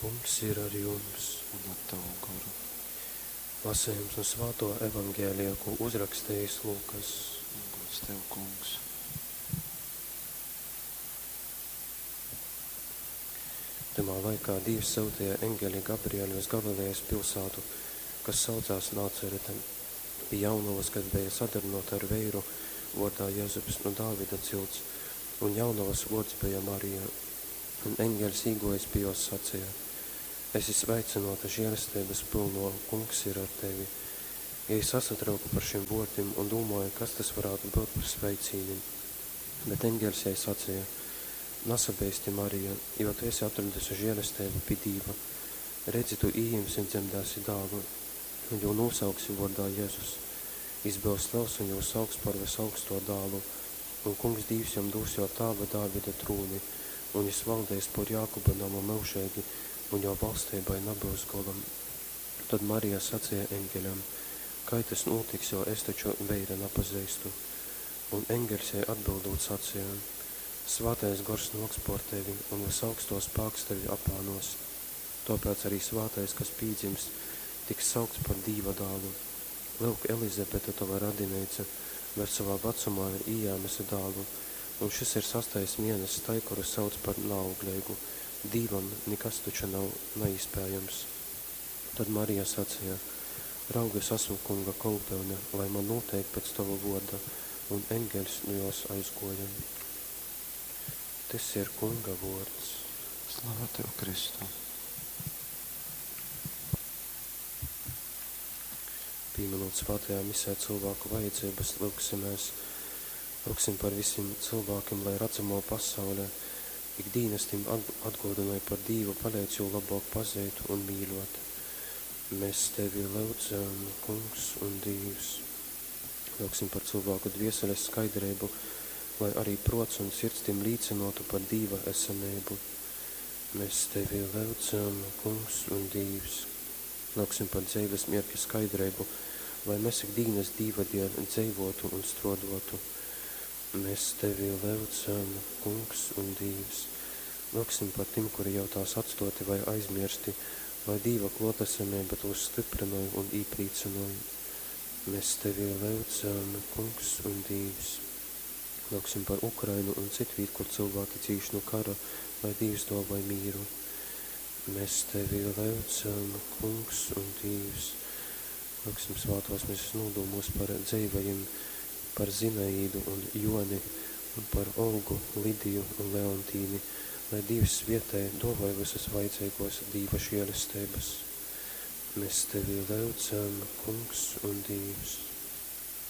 Kungs ir ar jums. Un ar tavu goru. Lasījums no Svāto evaņģēlija, ko uzrakstījis Lūkas. Gods tev, Kungs. Tymā laikā Dīvs syutīja eņgeli Gabrieli uz Galilejas pilsētu, kas saucās Nācerete, pie jaunavas, kas bija sadarināta ar veiru vārdā Jezups no Dāvida cilts, un jaunavas vārds bija Marija. Un eņģelis īgojis pie jos sacīja: Esi sveicināta žēlestības pilno, Kungs ir ar tevi. Jei sasatrauka par šim vōrdim un dūmōja, kas tas varētu būt par sveicīni. Bet eņģelis jai sacīja: Nasabeisti, Marija, jo tu esi atradusi žēlestību pie Dīva. Redzi, tu ījimsi un dzemdēsi dālu, un jū nosauksi vārdā Jēzus. Jis byus liels un jū sauks par visaugsto dālu, un Kungs Dīvs jam dūs jō tāva Dāvida trūni, un jis valdeis pōr Jākuba namu myužeigi, un jō valstībai nabyus gola. Tod Marija sacīja eņģeļam: Kai tys nūtiks, jo es taču veira napazeistu? Un eņģeļs jai atbildūt sacīja: Svātais gors nōks pōr tevi, un vysaugstō spāks tevi apānōs. Tōpēc arī svātais, kas pīdzims, tiks saukts par Dīva dālu. Lyuk, Elizabete, tova radineica, vēļ sovā vacumā ir ījēmuse dālu, un šys ir sastais mieness tai, kuru sauc par naaugleigu. Dīvam nikas taču nav naīspējams. Tad Marija sacīja: Raug, es esmu Kunga kolpyune, lai man nūteik pēc tova vōrda, un eņģeļs nu jōs aizgōja. Tys ir Kunga vōrds. Slava tev, Kristu! Pīminot svētajā misē cilvēku vajadzības, lyugsimies. Lyugsim par visiem cilvēkiem, lai redzamo pasaule ikdīnas tim atgādināja par Dīvu, palīdz jū labāk pazīt un mīļot. Mēs tevi lyudzam, Kungs un Dīvs. Lyugsim par cilvēku dvieseles skaidrību, lai arī prots un sirds tim līcinotu par Dīva esamību. Mēs tevi lyudzam, Kungs un Dīvs. Lyugsim par dzeives mierķa skaidrību, lai mēs ikdīnas Dīva dēļ dzeivotu un strodotu. Mēs tevi lyudzam, Kungs un Dīvs. Lyugsim par tim, kuri jau tās atstoti vai aizmirsti, lai Dīva klotesamība tos stiprināja un īprīcināja. Mēs tevi lyudzam, Kungs un Dīvs. Lyugsim par Ukrainu un citvīt, kur cilvēki cīš no kara, lai Dīvs dāvāj mīru. Mēs tevi lyudzam, Kungs un Dīvs. Lyugsim svātās mises nūdūmos par dzeivajim, par Zinaīdu un Joni un par Olgu, Lidiju un Leontīni, lai Dīvs svietej, dāvāj visas vajadzīgos Dīva žēlestības. Mēs tevi lyudzam, Kungs un Dīvs.